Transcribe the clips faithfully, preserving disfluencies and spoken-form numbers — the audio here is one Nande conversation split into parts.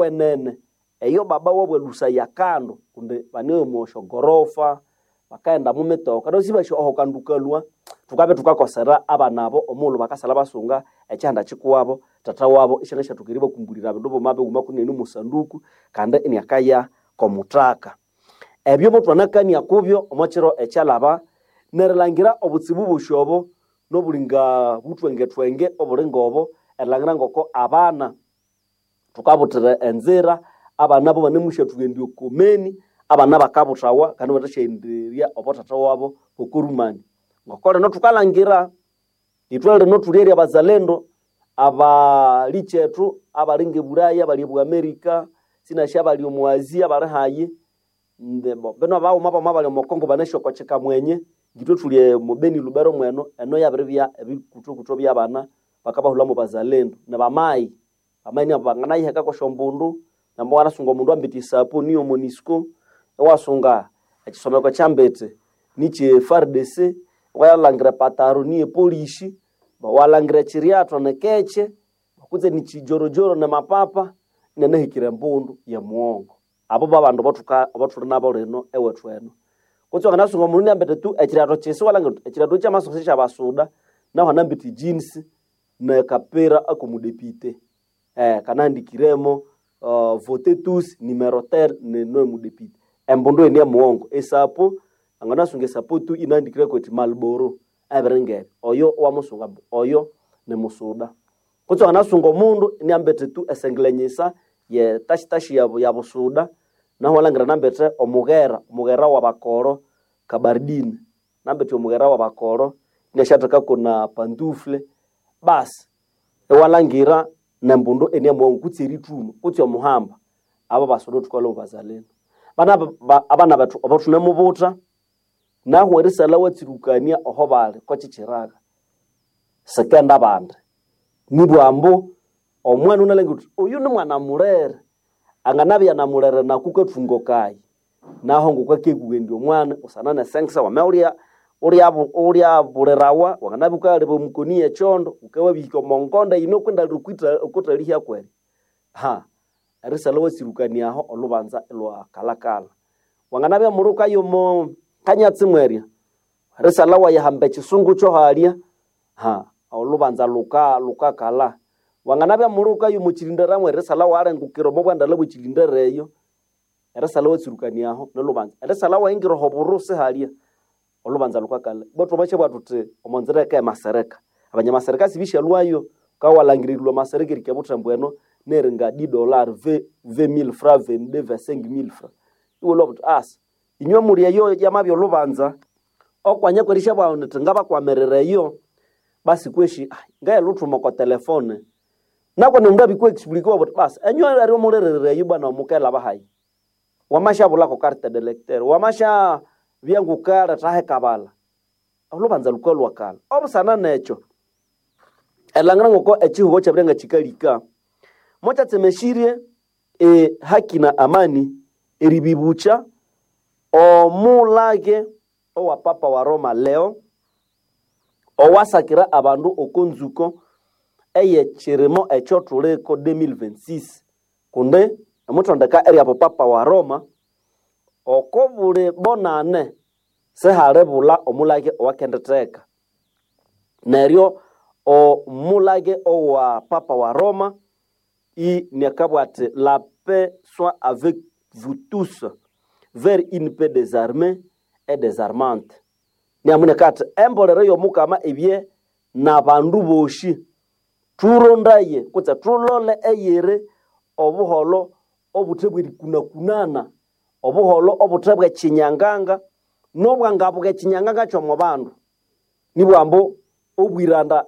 Wenene eyo baba wabo elusaya kando kundi bane omo syogorofa bakaghenda mu mitoka neryo sibasi oho kandu kalhwa thukabya thukakosera abana abo omughulhu bakasala basunga ekyihanda kyikuwabo tata wabo isyangasyathoka eribakumbulira bindu bighuma bighuma kunene omo sanduku kandi iniakaya komuthaka. Ebyo muthwanakania kubyo omo kiro ekyalhaba nerilhangira obutsibu bosi obo nobuli nga buthwengethwenge obuli ngobo erilhangira ngoko abana thukabuthira enzira abana abo banemusyathughenda okomeni abana bakabuthawa kandi ibathasyaghenderya obo thatha wabo okorumani. Ngoko lino thukalhangira ithwe lino thuli eri abazalendo abalikyethu abali ngebulaya abali ebu America sinasi abali omu Asia abali hayi bino abaghuma bamwe abali omo Congo banasi oko kyikamwenye ngithwe thuli omo Beni Lubero mweno eno yabiribya ebikuthokutho byabana bakabahulhamu bazalendo nibamayi bamayi nabo banganayiheka kwesyombundu namba wanasunga omundu ambiti esapo niyo MONUSCO iwasunga ekyisomeko ekyambiti nikye F A R D C iwalhangira epataro niye polisi walhangira ekyiryathwa nikekye kutse nikyijorojoro nimapapa inanahikire embundu yemughongo. Abo babandu abathuli nabo lino ewethu eno. Kutse wanganasunga omundu iniambiti tu ekyiryathwa kyisi iwalhangira wuthi ekyiryathwa kyamasusa syabasuda nahu anambiti jeans nekapira akomudepite kanahandikiremo vote tous numero tel nino emudepite. Embundu eyo niyemughongo. Esapo anganasunga esapo tu inahandikireko indi Marlboro ebiringebyo oyo iwamusunga ambu oyo nimusuda. Kutse wanganasunga omundu iniambiti tu esengelenyisa yetashitashi yabusuda nahu iwalhangira inambiti omughera, omughera wabakoro kabardine inambiti omughera wabakoro inasyathekako na pantufle basi iwalhangira nembundu iniyemughongo kutse erithuma kutse omuhamba abo basuda thukalhwa mubazalendo. Abana bethu abathunamubutha nahu erisalha iwatsirukania oho bali kwekyikyiraga sikenda bandi nibwa ambu omwana wunalhangira wuthi oyu nimwana mulere anganabya namulere naku kathungo kayi nahu ngokwakekughenda omwana busana nesengesa wamabya wulyabulirawa wanganabya wukaleba omukoni yekyondo wukawabihika omo ngonda yino okuthalihya kwerya erisalha iwatsirukania aho olhubanza ilwakalhakalha. Wanganabya muli wukaya omo kanyatsi mwerya erisalha iwayahamba ekyisungu kyohalya olhubanza lukakalha. Wanganabya muli wukaya omo kyilindera mwerya erisalha iwalengukira omo bwandalha bwekyilindera eyo erisalha iwatsirukania aho nilhubanza. Erisalha iwayingira oho burusi halya olhubanza lukakalha. Betu thwamashabugha thuthi omo nzira eyika yamasereka abanyamasareka sibisyalhwayo wukabya walhangira erilhwa amasereka erihika ebuthembu eno neringa dix dollars vingt mille francs vingt-deux vingt-cinq mille francs iwalhwa wuthi asa inywe muli eyo yamabya olhubanza okwanya kwerisyabuga wuthi ngabakwamirira eyo basi kweshi ngayeluthuma oko telefone nakoni omundu abikwa explique iwabugha wuthi basi enywe eryo mulirira eyo bwana mukelaba hayi wamasyabulako carte de lecteur wamasyabya ngukaletha hekabalha olhubanza lukalhwa kalha. Obusana nekyo erilhangira ngoko ekyihugho kyabirya ngakyikalika mukyatsemesirye ehaki na amani eribibukya omulage owa Papa wa Roma Leo owasakira abandu oko nzuko eyekyirimo ekyothuliko deux mille vingt-six kundi emuthondeka eryabo Papa wa Roma oko buli bonane sihalibulha omulage owakenditheka. Neryo omulage owa Papa wa Roma iniakabugha athi la paix soit avec vous tous vers une paix désarmée et désarmante. Niamuneka athi embolero yomukama ibye nabandu bosi thurondaye kutse thulole eyiri obuholho obuthe bwerikunakunana obuholho obuthe bwekyinyanganga nobwangabuka ekyinyanganga kyomo bandu nibugha ambu obwiranda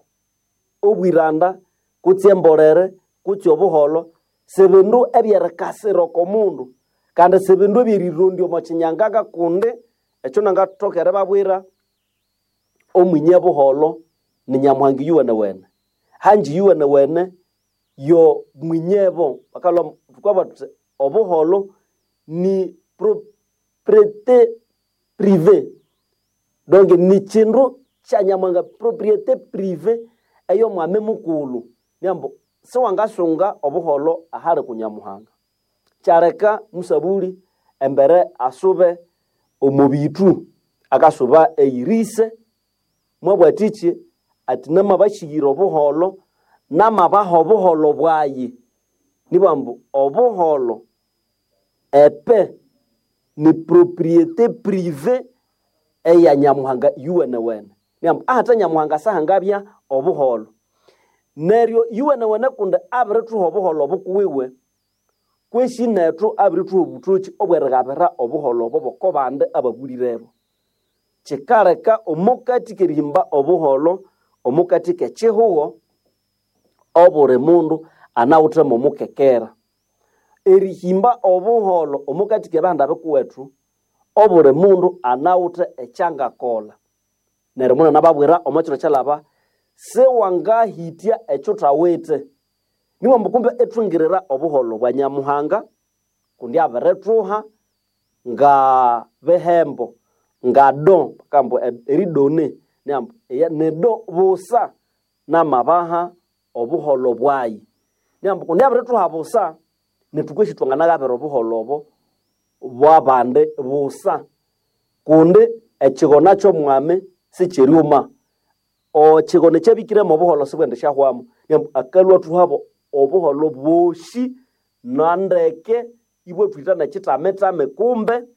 obwiranda kutse embolere kutse obuholho sibindu ebyerikasira oko mundu kandi sibindu ebyerirondya omo kyinyanganga kundi ekyo nangathoka eribabwira omwinye buholho ni Nyamuhanga iyuwenewene hanji iyuwenewene yo mwinyebo bakalhwa thukabugha thuthi obuholho ni propriété privée donc nikyindu kya Nyamuhanga propriété privée eyomwami mukulhu niambu siwangasunga obuholho ahali ku Nyamuhanga. Kyaleka musabuli embere asube omubitu akasuba eirise mwabwatichi ati namabashigira obuholo namabaha obuholo bwayi nibambu obuholo epe ni propriété privée eya Nyamuhanga yuwenewene niambu ahata Nyamuhanga sahangabya obuholo neryo yuwenewene kundi abirithuha obuholo bukuwiwe kweshi nethu abirithuha obuthoki obwerigabira obuholo obo boko bandi ababulirebo. Kikaleka omukati kerihimba obuholo omukati kekihugo obuli mundu anawithemo omukekera. Erihimba obuholo omukati kebihanda bikuwethu obuli mundu anawithe ekyangakolha. Neryo munene ababwira omo kiro kyalaba siwangahitya ekyuthawithe. Niwambu kumbe ithwingirira obuholo bwa Nyamuhanga kundi abirithuha nga bihembo nga do bakambu eridone niambu nido busa namabaha obuholo bwayi. Niambu kundi abirithuha busa nethu kwesi thwanganagabira obuholo obo bwabandi busa kundi ekigona ky'omwami sikiryuma. Ekigona ekyabikiremo obuholo sibwendishyahwamu. Niambu akalhwa athuhabo obuholo bwosi nandeke ibwathwitha nekitamitami kumbe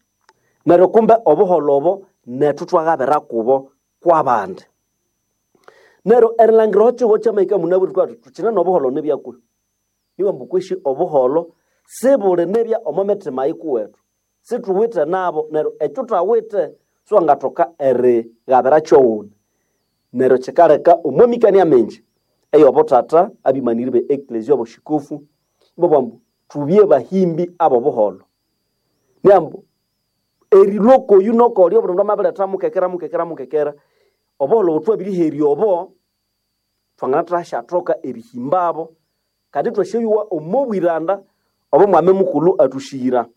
neryo kumbe obuholo obo nethu thwagabira kubo kwabandi. Neryo erilhangira ekihugho kyamahika munabwire thukabuga thuthi thukine n'obuholo nibyakwe. Niwambu kwesi obuholo sibuli nibya omo mitima yikuwethu. Sithuwithe nabo neryo ekyuthawithe siwangathoka erigabira kyowundi. Neryo kikaleka omo mikania mingi ey'obuthatha abimaniri be eklezia obushikufu ibabugha ambu thubye bahimbi ab'obuholo. Niambu erilhwa okoyu nokolya obundi mundu amabiretha mukekera mukekera mukekera obuholo obuthwabiriherya obo thwanganathashathoka erihimbabo kandi ithwasyayowa omo bwiranda obo mwami mukulhu athushira.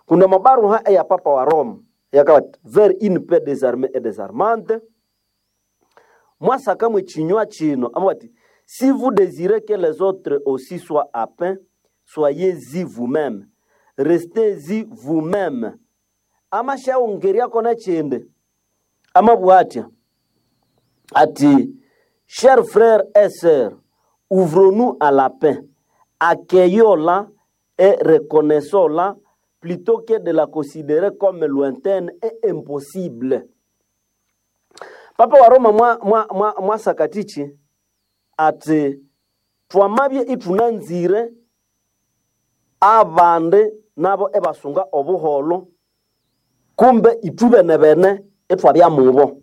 Kundi omo baruha eya Papa wa Roma eyakabugha vers une paix désarmée et désarmante mwasakamu ekinywa kino amabugha ati si vous désirez que les autres aussi soient à paix, soyez-y vous-même, restez-y vous-même. Amasyaghongeryako n'ekindi amabugha atya ati chers frères et sœurs, ouvrons-nous à la paix, accueillons-la et reconnaissons-la plutôt que de la considérer comme lointaine et impossible. Papa wa Roma mwa, mwa, mwa, mwasakatichi ati twamabye ithunanzire abandi nabo ebasunga obuholo kumbe ithubene-bene ithwabya mubo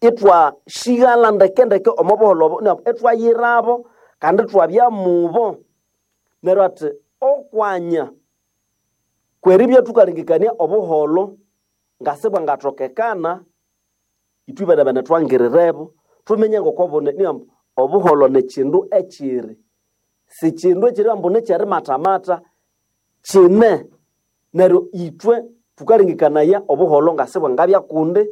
ithwashighala ndekendeke omo buholo obo ithwayirabo kandi ithwabya mubo. Neryo ati okwanya kweribya thukalengekania obuholo ngasibwangathokekana ithwibene-bene thwangirirebo thumenye ngokobune niambu obuholo nikindu ekiri sikindu ekiri ambu nikyerimatamata kine. Neryo ithwe thukalengekanaya obuholo ngasibwangabya kundi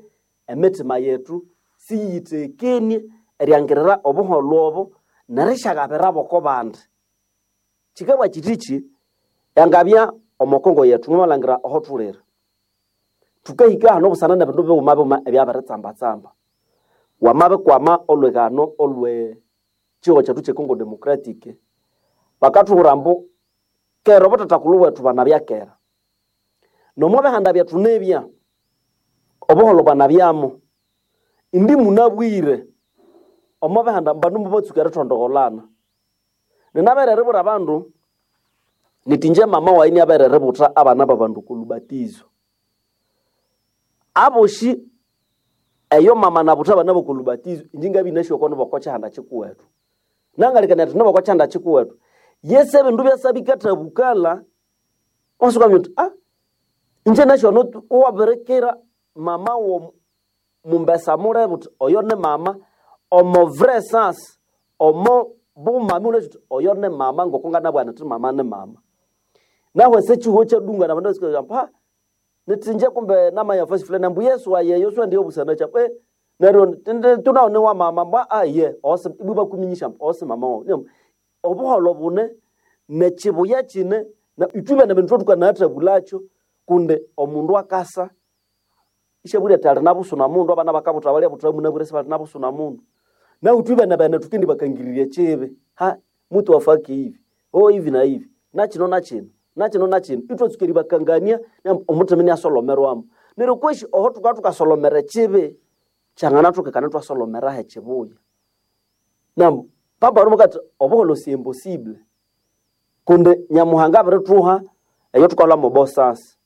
emitima yethu siyiyithekenie eriangirira obuholo obo nerisyagabirabo oko bandi. Kikabugha kithiki yangabya omo Kongo yethu mwamalhangira aho thulire thukahika hano busana nebindu bighuma bighuma ebyabiritsamba-tsamba. Wamabikwama olwighano olwe kihugho kyethu kye Congo Democratic bakathuhura ambu kera obuthathakulhu bwethu banabya kera nomo bihanda byethu nibya obuholo bwanabyamo indi munabwire omo bihanda bandu mubatsuka erithondogholana. Ninabere eribwira abandu nithi ingye mama wayi niabere eributha abana babandu oko lubatizo. Abosi eyo mama nabutha abana boko lubatizo inje ngabya inasi oko niboko kyihanda kikuwethu. Nangalikania athi niboko kyihanda kikuwethu. Yesi ebindu byasa bikathabukala wasuka uthi ah inje nasi ono iwabirikira mama wo mumbesa mulebe uthi oyo ni mama omo vrai sens omo bumami wunasi uthi oyo ni mama ngoko nganabugha nithi mama ni mama. Nahu ese ekihugho kyadungana abandu basuka ha nithi inje kumbe namaya fasi fulani ambu Yesu aye Yesu ndiyo busana kyabo eh neryo tunawo ni wa mama mbwa aye ose ibwa bakuminyisha ambu ose mama wawu. Obuholo bune nekibuya kine Na itwe bene bindu tukanathabulacho kunde omundu akasa ishaburi ati ali nabusuna mundu abana bakabuta balya buta munabure sibali nabusuna mundu. Na utwe bene bene tukendi bakangiriria chibe. Ha mutu afaki hivi. Oh hivi na hivi. Na chino na chino. Na chino na chino. Itwe tukeri bakangania omutemeni asolomerwamo. Neryo kweshi oho tuka tukasolomera chibe changana tukekana twasolomera he chibuya. Nam papa rumukati obuholo si impossible. Kunde Nyamuhanga abirituha eyo tukalwa mu bosasi.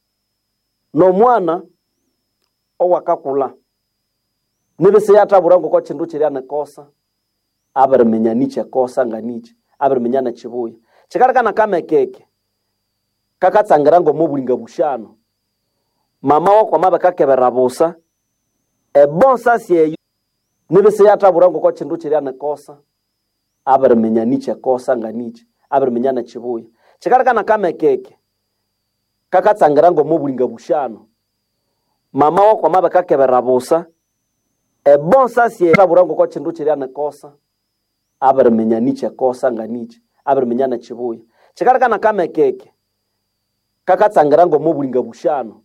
Nomwana owakakula nibise yatabura ngoko chindu chiria nekosa abiriminya niche kosa nga niche abiriminya nechibuya chikalekana kamekeke kakatsangira ngomubulinga bushano mama wakwama bakakebera busa ebonsasi eyo nibise yatabura ngoko chindu chiria nekosa abiriminya niche kosa nga niche abiriminya nechibuya chikalekana kamekeke kakatsangira ngomubulinga bushano mama wakwama bakakebera busa ebonsasi yatabura ngoko chindu chiria nekosa abiriminya niche kosa nga niche abiriminya nechibuya chikalekana kamekeke kakatsangira ngomubulinga bushano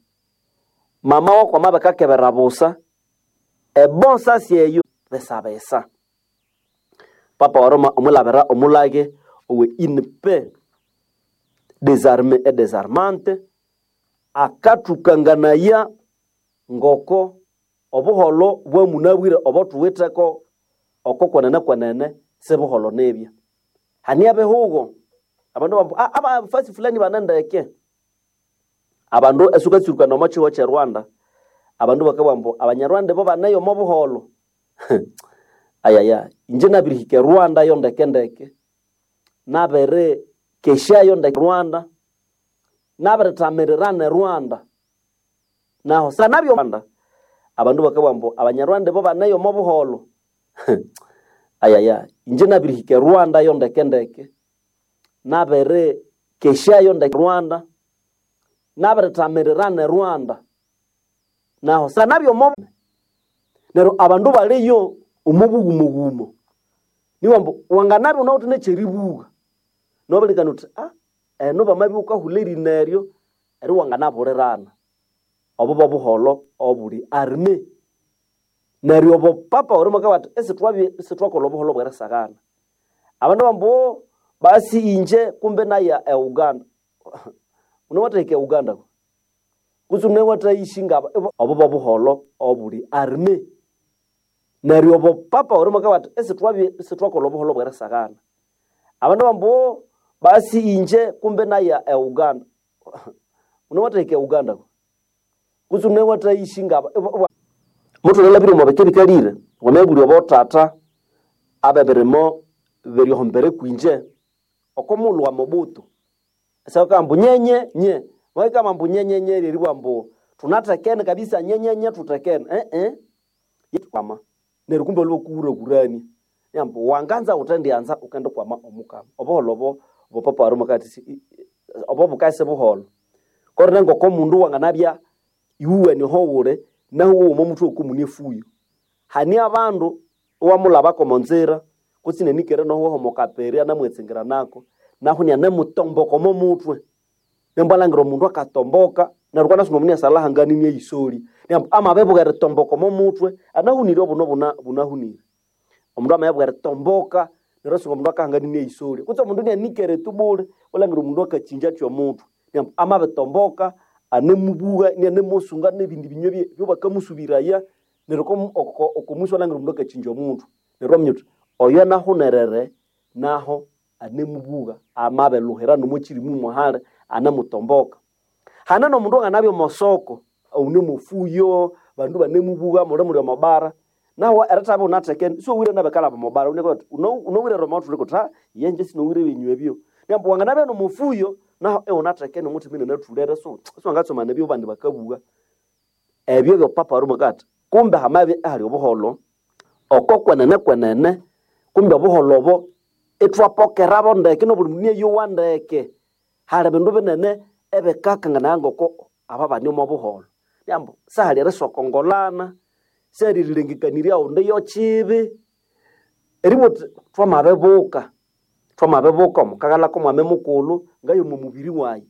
mama wakwama bakakebera busa ebonsasi eyo besabesa papa wa Roma omulabira omulage owe une paix désarmée et désarmante akathukanganaya ngoko obuholo bwamunabwire obo thuwitheko oko kwenene kwenene sibuholo nibya. Hania bihugo abandu bambu ah, abafasi fulani banendeke abandu esukatsurukana omo kiho kye Rwanda abandu bakabugha ambu abanyarwanda bo baneyo omo buholo ayaya inje nabirihika e Rwanda yo ndeke ndeke nabiri keshayo ndeke Rwanda nabirithamirirana e Rwanda naho sanabyo Rwanda abandu bakabugha ambu abanyarwanda bo baneyo omo buholo ayaya inje nabirihika e Rwanda yo ndeke ndeke nabiri keshayo ndeke Rwanda nabirithamirirana e Rwanda naho sanabyo mo neryo abandu baliyo omubugumogumo niwa ambu wanganabya unawithe nekyeribuga nobilikana uthi ah eno bamabya wukahulha erina eryo eri wanganaburirana. Obo bobuholo obuli arme. Neryo obo papa orio mwakabugha athi isithwabya isithwakolha obuholo bwerisaghana. Abandu bambu basi inje kumbe naya e Uganda. Wunawatahika e Uganda kutse wunawathayishi ngaba obo bobuholo obuli arme. Neryo obo papa orio mwakabugha athi isithwabya isithwakolha obuholo bwerisaghana. Abandu bambu basi inje kumbe naya e Uganda. Wunawatahika e Uganda kutse wunawathayishi ngaba mutholere omo bike bikalire wamabulya obothatha abebirimo biryohombere kwinje oko mulhu wa Mobutu esabakabugha ambu nyenye nye bakabugha ambu nyenye nye lyeribugha ambu thunathekene kabisa nyenye nye thuthekene eh eh neryo kumbe waliwo kuwurakurania ambu wanganza wuthendianza wukendikwama omukama. Obuholho obo obo papa wa Roma akati obo bukasi buholho kore ngoko mundu wanganabya iwuwene oho wuli nahu owo omuthwe okomune efuyo. Hane abandu iwamulhabako omonzira kutse inanikere noho omokaperi anamwetsingira nako nahu inanemutomboka omo muthwe. Nembu alhangira omundu akatomboka neryo kwanasoma omundu inasalhahangana inayisolya neryo amabibuka eritomboka omo muthwe anahunire obuno bunahunire. Omundu amabya eritomboka neryo iwasunga omundu akahangana inayisolya kutse omundu inanikere tu bule iwalhangira omundu akakyingya athi omuthwe neryo amabitomboka anemubuha inanemusunga nebindi binywa ebyabakamusubiraya neryo okomusi iwalhangira omundu akakyingya omuthwe neryo iwaminya wuthi oyo anahunerere naho anemubuha amabilhuhira nomokyirimu muhali anemutomboka. Hane nomundu wanganabya omosoko wune mofuyo abandu ibanemubuha muli muli omobara nahu erithabya iwunathekene isiwowire nabikalhaba omobara wunowire Roma wuthuleke wuthi ha iye sinowire ebinywa ebyo. Neryo wanganabya nomufuyo nahu iwunathekene omuthima inanathulere siwangatsomana ebyo abandi bakabugha. Ebyo byo papa wa Roma akabugha athi kumbe hamabya ihali obuholho oko kwenene kwenene kumbe obuholho obo ithwapokerabo ndeke nobuli mundu inayowa ndeke. Hali bindu binene ebikakanganaya ngoko aba bane omo buholho. Ambu sihali erisokongolana, sihali erilengekanirya ghundi yokibi, eribugha wuthi thwamabibuka Twamabibuka omukagala komwami mukulhu ngayo omo mubiri wayi.